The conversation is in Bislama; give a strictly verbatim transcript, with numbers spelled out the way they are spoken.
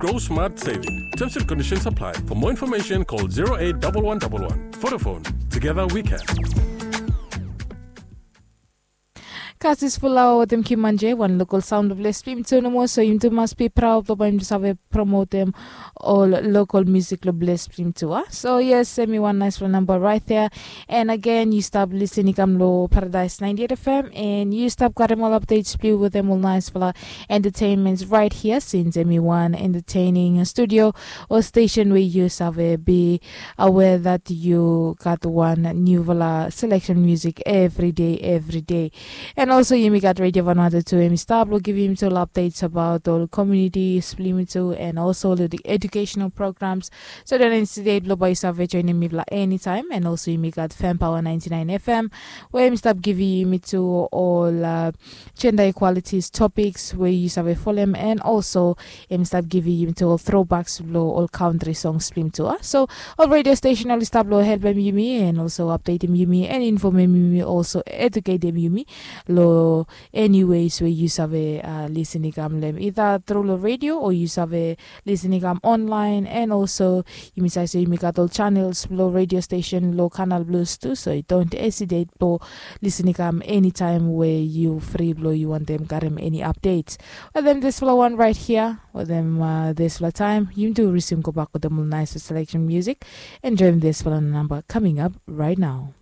Grow smart saving. Terms and conditions apply. For more information, call zero eight double one double one. Vodafone. Together we can. Kasis fulawa wetem Kimanje, wan lokal saun blong Blespim tu nomo, so yum tu mas bi praud blong bae yum tu save promotem ol lokal musik long Blespim tu a. So yes, em i wan naispela namba right there. And again, yu stap lisin i kam long Paradise ninety-eight F M, and yu stap garim ol updates blong yu wetem ol naispela entertainments right here, since em i wan entertaining studio o station we yu save be aware that yu gat wan nufala selection music every day, every day. And also yumi gat Radio Vanuatu tu, em i stap long givim yumi tu ol updates about ol communities blong yumi tu, and also ol educational programs. So don't hesitate blong bae yu save joinim mifala anytime. And also yumi gat Fam Power ninety-nine F M, we em i stap givim yumi tu ol uh, gender equalities topics we yu save folem, and also em i stap givim yumi tu ol throwbacks blong ol country songs blong yumi tu a. So ol radio station oli stap long helpem yumi, and also updatem yumi, and infomem yumi, also educatem yumi long any ways we yu save uh, lisin i kam long em, either through long radio o yu save lisin i kam online. And also yumi save se yumi gat ol channels blong radio station long Canal Plus tu, so don't hesitate blong lisin i kam anytime we yu fri blong yu wantem garim any updates wetem disfala wan right here, wetem uh, disfala taem yumi tu resume gobak wetem ol nais selection music. Enjoim disfala namba coming up right now.